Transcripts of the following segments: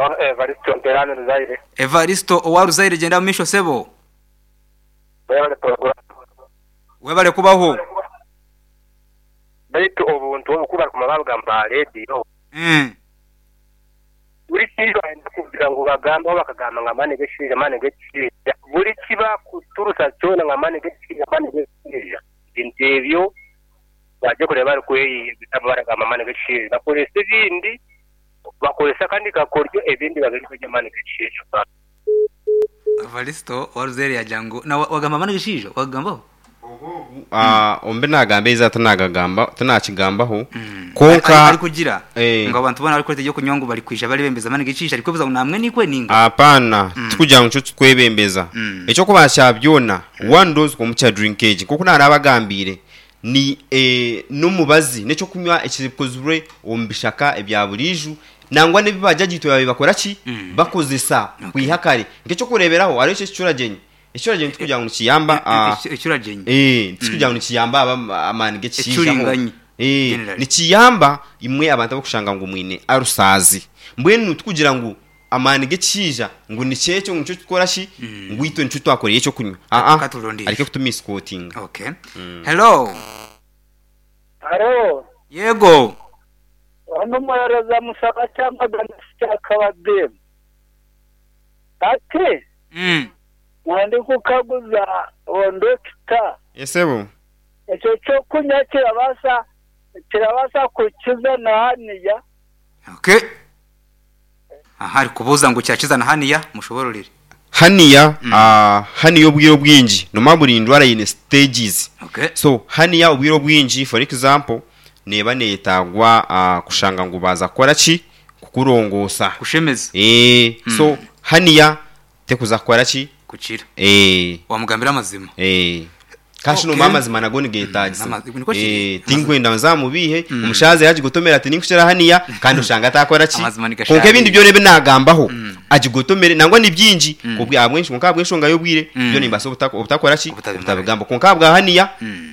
Ono Evaristo Mperani Ruzaire. Evaristo owa Ruzaire gyenda mu maisho sebo. Webale program. Webale kubaho. Baitu obuntu obu ku barikumara babugamba aha rediyo, buri ki bayenda kugira ngu bagambeho bakagamba ngu amaani g'ekishaija amaani g'ekishaija. Buri ki bakuturusa kyona ngu amaani g'ekishaija amaani g'ekishaija. Ebintu ebyo baje kureeba barikweyeyegesa baragamba amaani g'ekishaija. Bakoresa ebindi, bakoresa akandi kakoryo ebindi babireka eby'amaani g'ekishaija. Evaristo owa Ruzaire yagira ngu na wagamba amaani g'ekishaija? Wagagambaho? Omu bi naagamba eizooba tinagagamba tinakigambaho kwonka Arikugira ngu abantu boona abarikureeta eby'okunywa ngu barikwija barebembeza amaani g'ekishaija arikwebuza ngu namwe nikwe ninga? Apaana, tikugira ngu nikyo turikwebembeza. Eky'okubanza kya byona, one dose omu kya drink egi nk'oku naarabagambiire ni n'omubazi, n'eky'okunywa ekikozirwe omu bishaka ebya buriijo nangwa n'ebi baajaja itwe baabaire bakora ki? Bakozesa kwiha kare. Nk'eky'okureeberaho hariho eki ekicuragyenyi. Ekicuragyenyi tikugira ngu nikiyamba Ekicuragyenyi? Tikugira ngu nikiyamba amaani g'ekishaija ho. Ekicuringanyi generally. Nikiyamba imwe abantu abarikushanga ngu mwine arusaazi. Mbwenu tikugira ngu amaani g'ekishaija ngu nikyo ekyo ngu nikyo tukora ki ngu itwe nikyo twakoreire ekyokunywa. Aa Ka turondire. areke kutumisikotinga. Okay. Hello. Haro. Yego. Onu omuheereza Musaba Kyamagana Kyakabadde ati, Nandikukaguza Dokita. Yes sebo. Ekyo ky'okunywa kirabaasa kirabaasa kukiza na haniya? Okay. Aha arikubuuza ngu kyakiza na haniya? Mushobororere. Haniya, haniya obwire obwingi nomanya buri ndwara eine stages. Okay. So haniya obwire obwingi for example neeba neyetagwa kushanga ngu baaza kukora ki? Kukurongoosa. Kushemeza. Eeh so haniya tekuza kukora ki? Kukira. Eeh. Wamugambira amazima. Eeh. Kandi shi Okay. nomanya amazima nago nigetagisa. Nikwo kiri. Eeh, tinkwenda nzamubiihe, omushaija yagigotomera ati ninkukira haniya kandi oshanga atakora ki? Amazima Kwonka nigasharira. ebindi byona ebi nagambaho agigotomere nangwa ni bingi kwonka ahabw'enshonga y'obwire byo nimbaasa obutakora ki? Obutabimara. Obutabigamba. Kwonka ahabwa haniya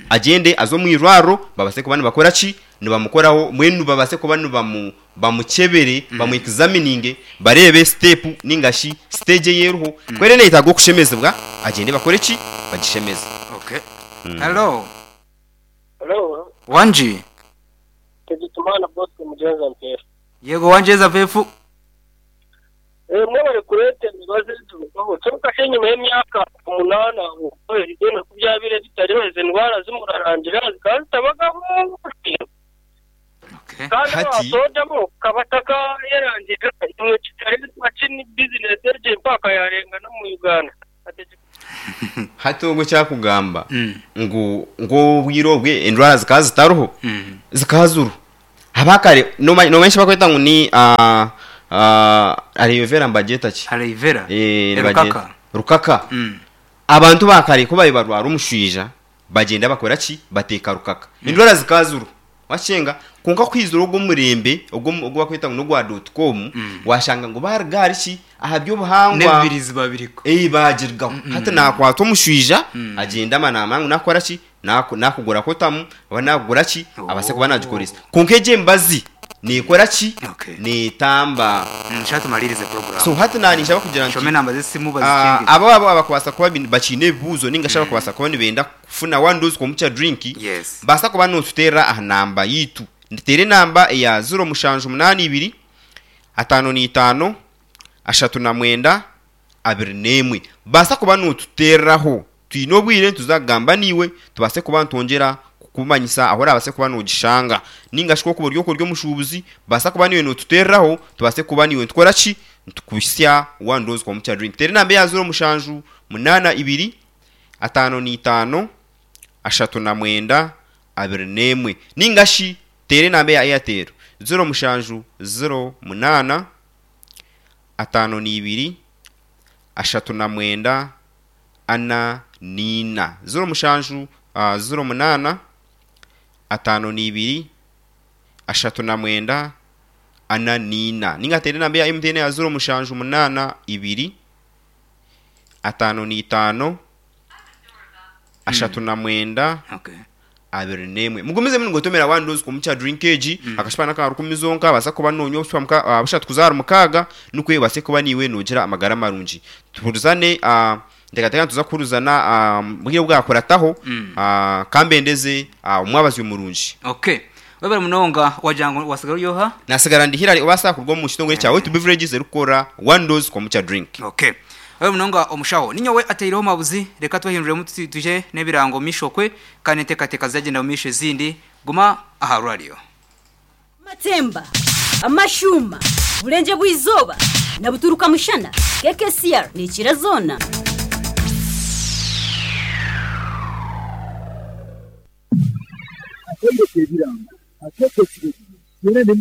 agyende aze omu irwariro babase kuba nibakora ki? Nibamukoraho mbwenu babase kuba nibamu bamukyebere, bamu examininge, bareebe step ninga shi stage ei eriho, ku eriyo neyetaaga okushemezibwa, agyende bakore ki? Bagishemeze. Okay. Hello. Hello. Wangi. Tegyekimaana Bosco Mugyenza Mpeefu. Yego Wangyeza Mpeefu. Eh, mwebare kureeta emibazi eturugaho. Kyonka shi enyima y'emyaka omunaana okwo ebigyenga ku byabaire bitariho, ezo endwara zi murarangira zikaba zitabagaho. Kandi Hati. owa soda bo kaba atakayerangirira imwe kitari makini bizinesi egyo empaka yarenga n'omu Uganda. Hati ogwo eki arikugamba ngu ngu obwire obwe endwara zikaba zitariho, zikaba ziriho. Abakare nomanya nomanya eki barikweta ngu ni aloe vera nibagyeta ki? Aloe vera? Eh, nibagyeta Rukaka. rukaka. Abantu ba kare ku baabaire barwara omushwija, bagyenda bakora ki? Bateeka rukaka. Endwara zikaba ziriho. Wakyenga? Kwonka ku haizire ogwo omureembe ogu ogu barikweta ngu n'ogwa dot com, washanga ngu baaruga ahari ki? Aha by'obuhangwa. N'ebibirizi babiriko. Ee, baagirugaho. Hati naakwata omushwija, agyenda ama naamanya ngu naakukora ki? Naaku naakugura kotamu oba naakugura ki, abaase kuba naagikoresa. Kwonka egyo emibazi neekora ki? Okay. Neetamba. Shaaha tumariirize puroguraamu. So hati naaniija kugira nti. Shoma enamba z'esimu bazikyengye. Abo abo abakubaasa kuba bakiine ebibuuzo ninga shi abakubaasa kuba nibenda kufuna one dose komukya drink, Yes. baasa kuba nootuteerera aha namba yaitu. Teera enamba eya ziro mushanju munaana ibiri, ataano n'eitaano, ashatu na mwenda, abiri n'emwe. Baasa kuba nootuteereraho. Twine obwire nituza kugamba naiwe tubaase kuba nitwongyera kukumanyisa ahu orabaase kuba noogishanga. Nainga shi ku orikuba ori okwo ori omushuubuzi, baasa kuba naiwe nootuteereraho tubaase kuba naiwe nitukora ki? Nitukuhitsya one dose komukya drink. Teera enamba eya ziro mushanju munaana ibiri, ataano n'eitaano, ashatu na mwenda, abiri n'emwe. Nainga shi teera enamba eya Airtel, ziro mushanju ziro munaana, ataano n'eibiri, ashatu na mwenda, ana n'eina. Ziro mushanju, ziro munaana, ataano n'eibiri, ashatu na mwenda, ana n'eina. Nainga teera enamba eya MTN eya ziro mushanju munaana ibiri, ataano n'eitaano, ashatu na mwenda, Okay. 21. Mugumizemu nigotomera one dose komukya drink egi akashupa naka rukumi zonka baasa kuba nonywa obushupa bushatu kuza ahari mukaaga nikwe obaase kuba niiwe nogira amagara marungi. Tuhurizane nteekateeka nituza kuhurizana obwire obwakurataho kambendeze omwabazyo murungi. Okay. Webare munonga wagira ngu wasigara ori oha? Nasigara ndi Hillary obaasa kuruga omu kitongore kya Wetu Beverages erikukora One Dose Kombucha Drink. Okay. Webare munonga omushaho. Ninyowe ataireho mabuzi reka twehinduremu twije n'ebirango omu maisho okwe kandi n'enteekateeka ziragyenda omu maisho ezindi. Guma aha rwariyo. Amatemba, amashuuma, Burengye bw'eizooba na buturuka mushana, KKCR neekira zoona. Akaire k'ebirango, akeekekire biri, teera n'emikono.